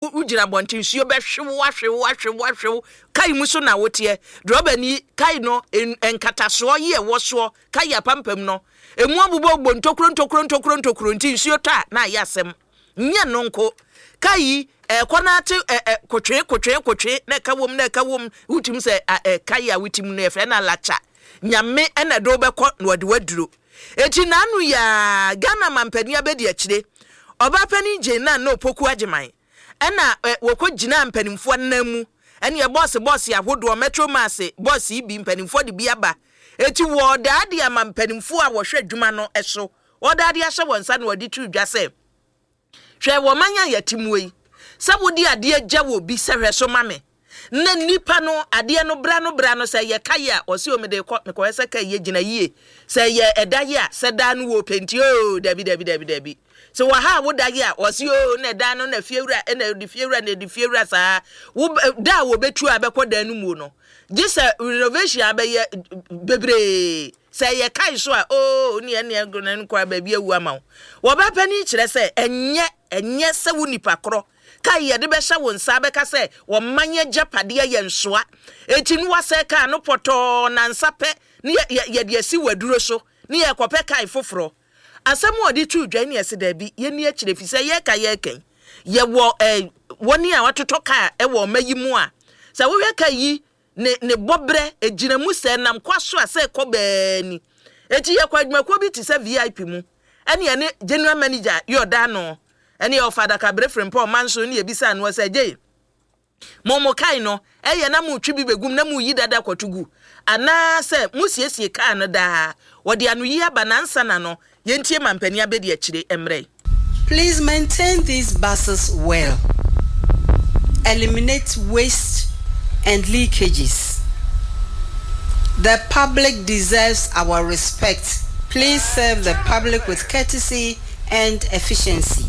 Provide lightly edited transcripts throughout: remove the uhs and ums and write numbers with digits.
Wogyina abɔnten, nsuo bɛhwe wo, ahwe wo, ahwe wo, ahwe wo. Kai mu so na woteɛ. Drɔbani, kai no, nkatasoɔ yi ɛwɔ soɔ, kai apampam no, ɛmu abobɔbobɔ ntokuro ntokuro ntokuro ntokuro nti nsuo tɔ a na ayɛ asɛm. Nyɛ no nko. Kai yi, ɛkɔ no ate ɛ ɛ kotwee kotwee kotwee na ɛka wom na ɛka wom. Wotumi sɛ a ɛ kai a wotim no yɛfrɛ no alakya. Nyame na ɛde wo bɛkɔ na ɔde wo aduro. Enti n'ano yi ara, Ghana mampanin abɛdi akyire, Ɔbaapanin Jane Nana Opoku Agyemang, ɛna wɔkɔ gyinaa mpanimfoɔ nan mu, ɛneɛ bɔɔse bɔɔse ahodoɔ, Metro Mass bɔɔse yi bi, mpanimfoɔ de bi aba. Enti wɔredaa de ama mpanimfoɔ a wɔhwɛ adwuma no so, wɔredaa de ahyɛ wɔn nsa na wɔde too dwa sɛ, Hwɛ, wɔ ɔman a yɛte mu yi, sɛ wode adeɛ gya wɔ bi sɛ hwɛ so ma me, na nipa no adeɛ no bra no bra no sɛ ɛyɛ kae a, ɔse o mede rekɔ, mekɔhwɛ sɛ kae yɛ gyina yie, sɛ ɛyɛ ɛda yɛ a, sɛ daa no wɔ penti oo, dabi dabi dabi dabi. Sɛ wɔ ha a woda yɛ a, ɔse oo na ɛdan no na fiewura na ɛde fiewura na ɛde fiewura saa. Wo da a wɔbɛtu a bɛkɔ dan no muo no, gye sɛ renovation abɛyɛ bebree. Sɛ ɛyɛ kae so a, oo, ne ɛne ɛne no koraa baabi awu ama wo. Wɔba panin kyerɛ sɛ ɛnyɛ, ɛnyɛ sɛ wo nipa korɔ kae yɛde bɛhyɛ wo nsa abɛka sɛ ɔman agyapadeɛ yɛ nsoa. Enti no wasɛe kaa no pɔtɔɔ nansa pɛ ne yɛ, yɛ, yɛde asi w'aduro so ne yɛrekɔpɛ kae foforɔ. Asɛm a ɔde too dwa yi ne yɛse daabi, yɛnni akyire ɛfiri sɛ yɛreka yɛreka yi, yɛwɔ eh, wɔn a wɔatotɔ kaa wɔ ɔma yi mu a, sɛ wohwɛ kaa yi ne ne bɔberɛ, ɛgyina mu sɛ ɛnam kwa so a sɛ ɛkɔ bɛɛ ni. Enti yɛkɔ adwumakuo bi te sɛ VIP mu, ɛne yɛne General Manager yɛ ɔda ano, ɛne ɔfa adakabere frempɔn manso ne yɛbisaa noɔ sɛ, Gyei, mo mo kae no, ɛyɛ na motwe bi bɛgum na moyi dada kɔto gu, anaa sɛ mosiesie kaa no daa? Wɔde anoyi aba na ansa na no, yɛntie mampanin abɛdiakyire mmerɛ. Please maintain these buses well. Eliminate waste and leakages. The public deserves our respect. Please serve the public with courtesy and efficiency.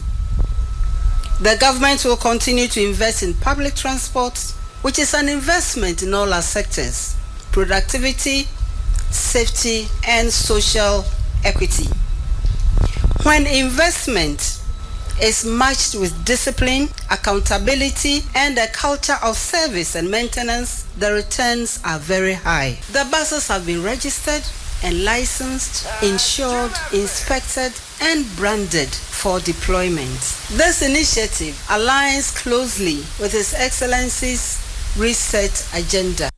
The government will continue to invest in public transport, which is an investment in all our sectors productivity, safety, and social equity. When investment is matched with discipline, accountability, and a culture of service and maintenance, the returns are very high. The buses have been registered and licensed, insured, inspected, and branded for deployment. This initiative aligns closely with His Excellency's Reset Agenda.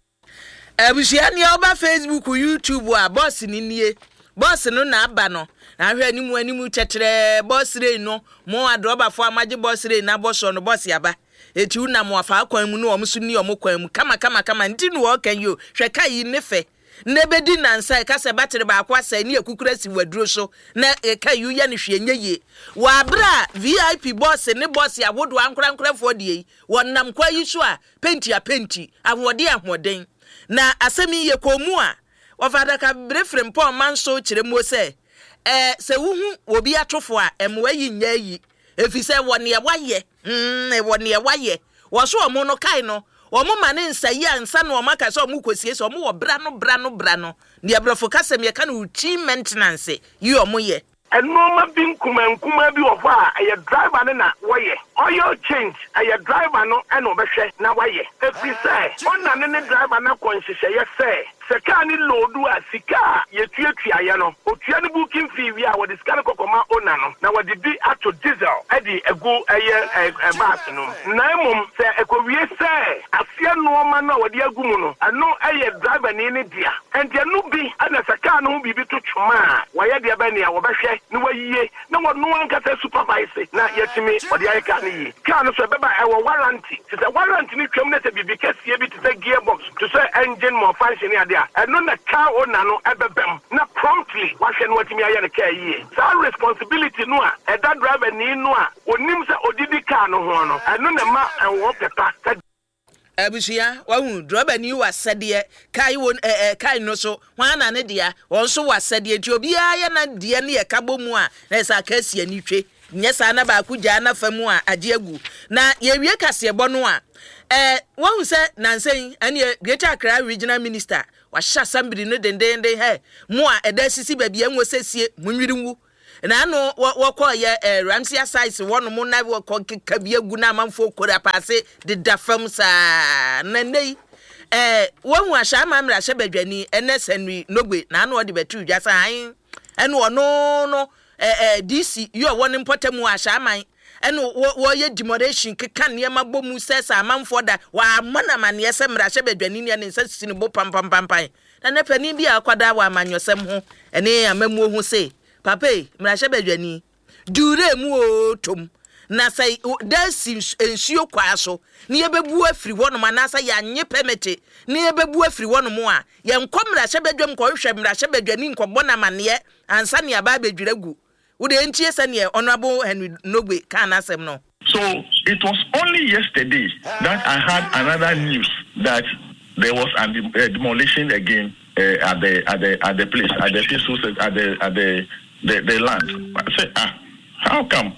Abusua nea ɔba Facebook, YouTube a bɔs no nie. Bɔs no na aba no. Na ahwɛ anim anim kyɛkyerɛɛ bɔs rei no. Mo adrɔbafo a moagye bɔs rei no abɔ soɔ no bɔs aba. Eti wonam afaa kwan mu ne wɔn so ni wɔn kwan mu kama kama kama nti na wɔreka yi o. Hwɛ ka yi ne fɛ. Na ebedi nnansa a ɛka sɛ battery baako asɛe ne akukuru asi w'aduro so na ɛka yi woyɛ no hwee ɛnyɛ yie. Wɔ abere a VIP bɔs ne bɔs ahodoɔ ankorankorafoɔ deɛ yi wɔnam kwan yi so a Penti a penti, ahoɔden a ahoɔden. Na asɛm yi yɛkɔɔ mu a, wɔfa adakabere frempɔn manso kyerɛ muo sɛ, Ɛɛ, sɛ wohu obi atofo a, mmoa yi nyɛ ayi, efisɛ wɔ neɛ wayɛ, mm, wɔ neɛ wayɛ. Wɔ so wɔn no, kae no, wɔn ma ne nsa yi ansa na wɔn aka sɛ wɔn rekɔsiesie, wɔn wɔ bra no, bra no, bra no, neɛ brɔfo kasam yɛka no routine maintenance yi wɔn yɛ. Nnoɔma bi nkumaa nkumaa bi wɔ hɔ a ɛyɛ driver no na wɔyɛ. Oil change, ɛyɛ driver no na ɔbɛhwɛ na wayɛ. Ɛfiri sɛ owner no ne driver no akɔ nhyehyɛeɛ sɛ, sɛ car no loodu a, sika a yɛtuatuaeɛ no, ɔtua ne booking fee wie a, wɔde sika no kɔkɔma owner no na wɔde bi ato diesel de agu ɛyɛ bus no mu. Na mmom sɛ ɛkɔwie sɛ aseɛ nnoɔma no a wɔde agu mu no, ɛno yɛ driverni no dea. Enti ɛno bi na sɛ kaa no ho biribi to twoma a, wɔayɛ deɛ bɛn nea wɔbɛhwɛ na wɔayie na wɔno ankasa supervise na yɛatumi wɔde ayɛ kaa no yie. Kaa no so ɛbɛba a ɛwɔ warranty. Te sɛ warranty no twam na sɛ biribi kɛseɛ bi te sɛ gear box, te sɛ engine malfunction ne adeɛ a, ɛno na car owner no ɛbɛbam na promptly wahwɛ na watumi ayɛ no kaa yie. Saa responsibility no a ɛda driver ni no a ɔnim sɛ ɔdidi kaa no ho no, ɛno na ɛma ɛwɔ pɛ pa sɛ. Abusua, wahu, drɔbani wɔ asɛdeɛ, kae wɔ ɛ ɛ kae no so, hwan na ne dea, wɔn nso wɔ asɛdeɛ, nti obiara yɛ na deɛ ne ɛka bɔ mu a, na ɛsɛ aka asi ani twe, nyɛ saa na baako gyaa n'afa mu a, agye agu. Na yɛwie kaseɛbɔ no a, ɛ wahu sɛ nansa yi, ɛneɛ Greater Accra Regional Minister, wahyɛ asambiri no dendeenden, hɛ, mo a ɛda asisi baabi a ɛnwɔ sɛ sie, monwiri ngu. Na ano wɔkɔ yɛ eh, Ramsia size wɔnom na wɔkɔ keka bi agu na amanfoɔ kori apaase deda fam saa. Na nnɛ yi eh, wɔhu ahyɛ ama mmarahyɛ badwani ɛnɛ Henry Nogbe na ano ɔde bɛto dwa sɛ ae ɛne ɔno no eh, eh, DC yi ɔwɔ ne mpɔtam wɔ ahyɛ aman ɛne wɔyɛ demolition keka nneɛma bɔ mu sɛ sɛ amanfoɔ da wɔammɔ no amanneɛ sɛ mmarahyɛ badwani ne ne nsa sisi ne bo pampampampan. Na nnɛ panin bi a akwadaa wɔ amanyɔsɛm ho ne amammuo ho se, Papa ei, mmarahyɛbadwani, di wura mu oo tom, na sɛ da si nsuo kwaa so na yɛbɛbu afiri hɔnom anaasɛ yɛanye pɛmɛte na yɛbɛbu afiri hɔnom a, yɛnkɔ mmarahyɛbadwam nkɔhwehwɛ mmarahyɛbadwani nkɔbɔ no amanneɛ ansa na yɛaba abɛdwira agu. Wo deɛ ntie sɛdeɛ Honourable Henry Nogbe kaa n'asɛm no. So it was only yesterday that I had another news that there was an demolition again uh, at the at the at the place at the peaceful at the at the the, the land. I said, ah, how come?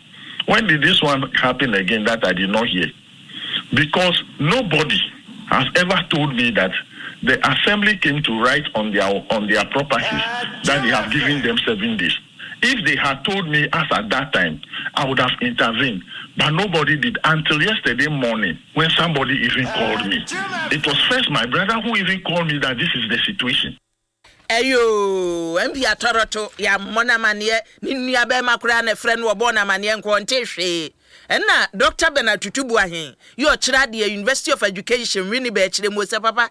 When did this one happen again that I did not hear? Because nobody has ever told me that the assembly came to write on their on their properties that they have given them seven days. If they had told me as at that time, I would have intervened. But nobody did until yesterday morning when somebody even called me. It was first my brother who even called me that this is the situation. Ɛyoo, MP Atɔrɔto, yɛammɔ no amaneɛ, ne nua bɛɛma koraa na ɛfrɛ no ɔbɔɔ no amaneɛ nka ɔnte hwee. Ɛnna Dɔkta Bernard Tutu Boahen yi ɔkyerɛ adeɛ University of Education Winneba kyerɛ mu sɛ papa,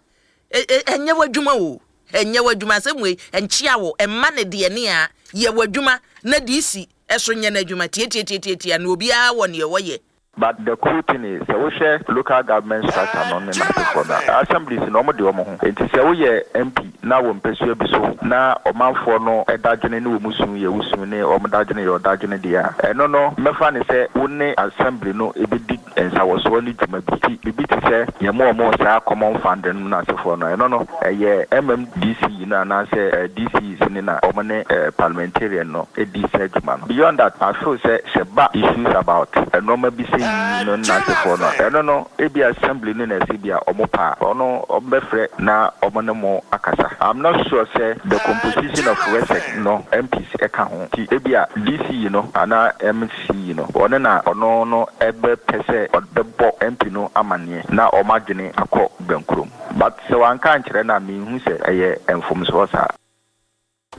ɛnyɛ w'adwuma o, ɛnyɛ w'adwuma, asɛm wei ɛnkyea wo, ɛmma no deɛ ne a, yɛ w'adwuma na DC so nyɛ n'adwuma, tiatiatiatiatia na obiara wɔ neɛ ɔyɛ. But the cool thing is sɛ wohwɛ local government structure no ne n'asefoɔ no a, assemblies no wɔn de wɔn ho. Nti sɛ woyɛ MP na wɔ mpasua bi so na ɔmanfoɔ no dadwene ne wɔn su yɛ wo su ne wɔn dadwene yɛ ɔdadwene deɛ a, ɛno no mɛfa no sɛ wo ne assembly no bɛdi nsawɔsoɔ ne dwuma bi. Nti biribi te sɛ yɛma wɔn saa common fund no n'asefoɔ no, ɛno no ɛyɛ MMDC no anaasɛ DCs no na wɔn ne parliamentarian no di saa dwuma no. Beyond that, I feel sɛ sɛ ɛba issues about nnoɔma bi sɛ yi no ne n'asefoɔ no a, ɛno no ebia assembly no na ɛsɛ bi a wɔn pɛ a, ɔno wɔn bɛfrɛ na wɔn ne mo akasa. I'm not sure sɛ the composition of RESEC no MPs ka ho nti ebia DC yi no anaa MC yi no ɔno na ɔno no bɛpɛ sɛ ɔbɛbɔ MP no amaneɛ na wɔn adwene akɔ bɛnkurom. But sɛ wanka ankyerɛ no a menhu sɛ ɛyɛ mfomsoɔ saa.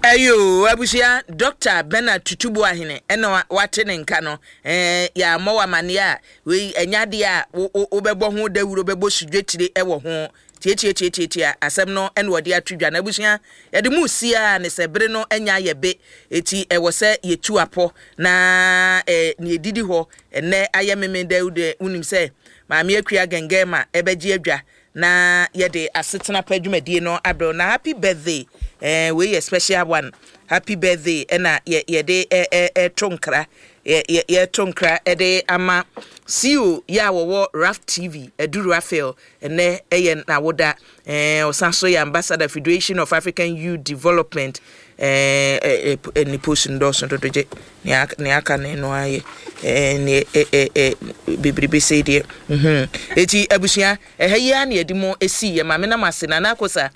Ɛyoo abusua Doctor Bernard Tutu Boahene ɛna wate ne nka no ɛɛ yɛammɔ wo amaneɛ a wei ɛnyɛ adeɛ a wo wo wobɛbɔ ho dawuro bɛbɔ sudwetire ɛwɔ ho tiatiatiatiatia asɛm no ɛna ɔde ato dwa no abusua yɛde mu si ara ne sɛ bere no anya ayɛ be eti ɛwɔ sɛ yɛtu apɔ na ɛɛ nea ɛdidi hɔ ɛnɛ ayɛ memenda yi deɛ wonim sɛ Maame Akua Gɛngɛma ɛbɛgye adwa na yɛde asetena pa dwumadie no abrɛ wo na happy birthday eh, wei yɛ special one happy birthday ɛna yɛ yɛde ɛ ɛ ɛto nkra yɛ yɛ yɛto nkra ɛde ama CEO yɛ a wɔwɔ Raf TV Adu Raphael ɛnɛ ɛyɛ n'awoda eh, ɔsan so yɛ ambassador Federation of African Youth Development eh, eh, eh, ne post no dɔɔso dodo gye Nea nea aka no ɛno ara yɛ ɛɛ neɛ ɛ ɛ ɛ bebrebe sei deɛ mhm eti abusua ɛha yi ara na yɛde mo esi yɛ maame nam ase Nana Akosa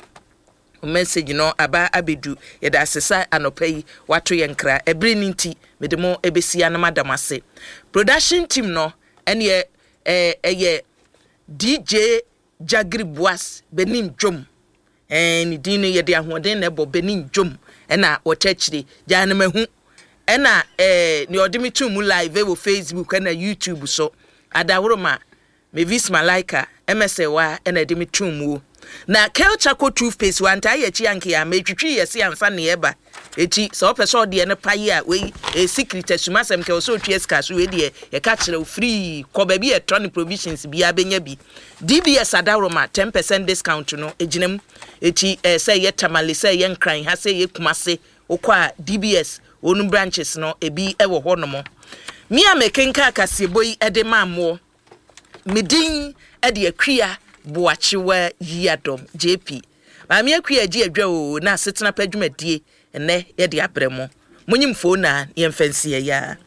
message no aba abedu yɛda ase sa anɔpa yi wato yɛn nkra ɛbere no nti mede mo ebesi ano mada mo ase production team no ɛneɛ ɛɛ ɛyɛ DJ Jagiri Boas Benin dwom Ɛɛ ne din no yɛde ahoɔden na ɛbɔ Benin dwom ɛna wɔkyɛ akyire gyaa no mahu ɛna ɛɛ nea ɔde me too mu live wɔ Facebook ɛna YouTube so Adaworoma Mavis Malaika MSA ɛna ɛde me too muo na Kel Charcoal toothpaste wantaa yɛ akyi anke a metwitwi yɛ se ansa nea ɛba Eti sɛ ɔpɛ sɛ ɔdeɛ no pa yi a wei ɛyɛ secret asum asɛm kɛ ɔsɛ otua sika so wei deɛ yɛka kyerɛ wo free kɔ baabi a ɛtɔ ne provisions biara bɛnya bi DBS Adaworoma 10% discount no ɛgyina mu eti ɛɛ sɛ ɛyɛ Tamale sɛ ɛyɛ Nkran ha sɛ ɛyɛ Kumase wokɔ a DBS wɔn branches no ebi ɛwɔ hɔ nom me a mekenka kaseɛbɔ yi ɛde maa moɔ me din ɛde Akua Boakyewa Yiadom JP Maame Akua agye adwa oo na asetena pa dwumadie ɛnɛ yɛde abrɛ mo. Monye mfoo na yɛmfa nsi ɛyaa.